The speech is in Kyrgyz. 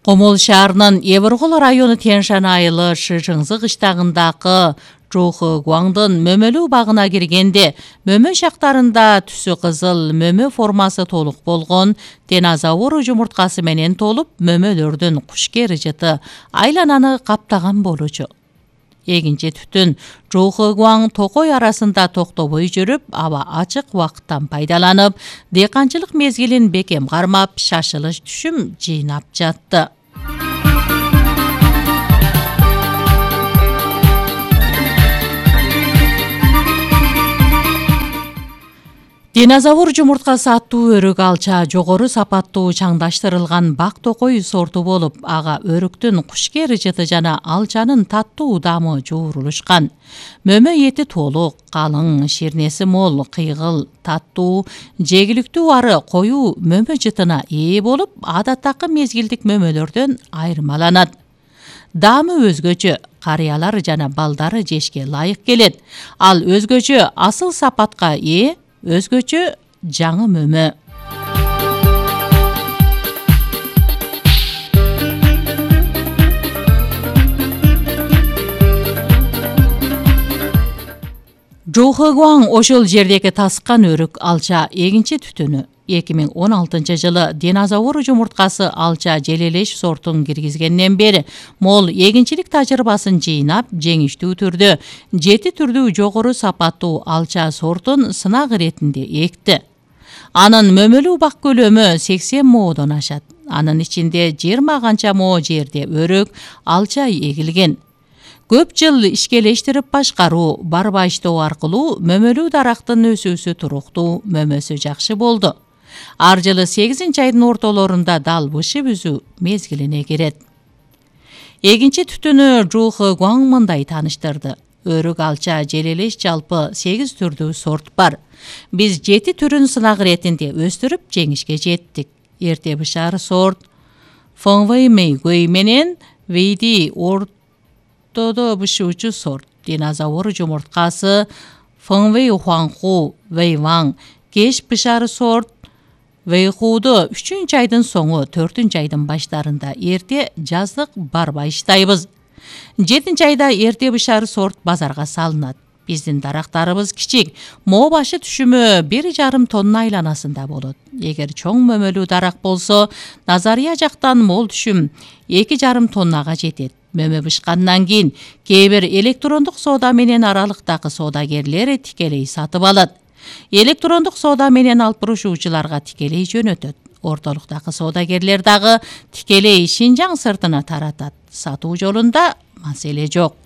Комол шаарынын Эбургул району Тяньшан айылы Шыжыңзы кыштагындагы Жохугуаңдын мөмөлүү багына киргенде мөмө шактарында түсү кызыл мөмө формасы толук болгон динозавр жумурткасы менен толуп мөмөлөрдүн кушкер жыты айлананы каптаган болчу. Эгинчи түтүн Жохугуаң Токой арасында токтобой жүрүп, аба ачык убакыттан пайдаланып, дыйканчылык мезгилин бекем кармап, шашылыш түшүм жыйнап жатты. Динозавр жумурткасы аттуу өрүк алча жогору сапаттуу чаңдаштырылган бак токой сорту болуп, ага өрүктүн кушкер жыты жана алчанын таттуу даамы жуурулушкан. Мөмө эти толук, калың, ширнеси мол, кыйгыл, таттуу, жегиликтүү ары коюу мөмө жытына ээ болуп, адаттагы мезгилдик мөмөлөрдөн айырмаланат. Даамы өзгөчө, карыялар жана балдары жешке ылайык келет. Ал өзгөчө асыл сапатка ээ, өзгөчө жаңы мөмө. Жохугуаң ошол жердеги таскан өрүк алча эгинчи түтүнү. 2016 жылы динозавр жумурткасы алча желелеш сортун киргизгенден бери мол эгинчилик тажрыйбасын жыйнап, жеңиштүү түрдө 7 түрдүү жогору сапаттуу алча сортун сынак иретинде экти. Анын мөмөлүү бак көлөмү 80 моодон ашат. Анын ичинде 20 канча moo жерде өрүк, алча эгилген. Көп жыл ишкелештирип башкаруу, барбаштоо аркылуу мөмөлүү дарактын өсүүсү туруктуу, мөмөсү жакшы болду. Ар жылы 8-айдын ортолорунда дал бышып үзүү мезгилине кирет. Эгинчи түтүнү Жохугуаң мындай тааныштырды. Өрүк алча желелеш жалпы 8 түрдүү сорт бар. Биз 7 түрүн сынак иретинде өстүрүп жеңишке жеттик. Эрте бышар сорт Фэнгвэй Мэйгуэй менен Вэйди ортодо бышуучу сорт. Динозавр жумурткасы Фэнгвэй Хуаңху Вэйваң, кеч бышары сорт Вэйхуду 3-айдын соңу 4-айдын баштарында эрте жаздык барбайштайбыз. 7-айда эрте бышары сорт базарга салынат. Биздин дарактарыбыз кичик, moo башы түшүмү 1,5 тонна айланасында болот. Эгер чоң мөмөлүү дарак болсо, назария жактан мол түшүм 2,5 тоннага жетет. Мөмө бышкандан кийин кээ бир электрондук соода менен аралыктагы соодагерлер тикелей сатып алат. Электрондук соода менен алып бурушуучуларга тикелей жөнөтөт. Ортолуктагы соодагерлер дагы тикелей Шинжаң сыртына таратат. Сатуу жолунда маселе жок.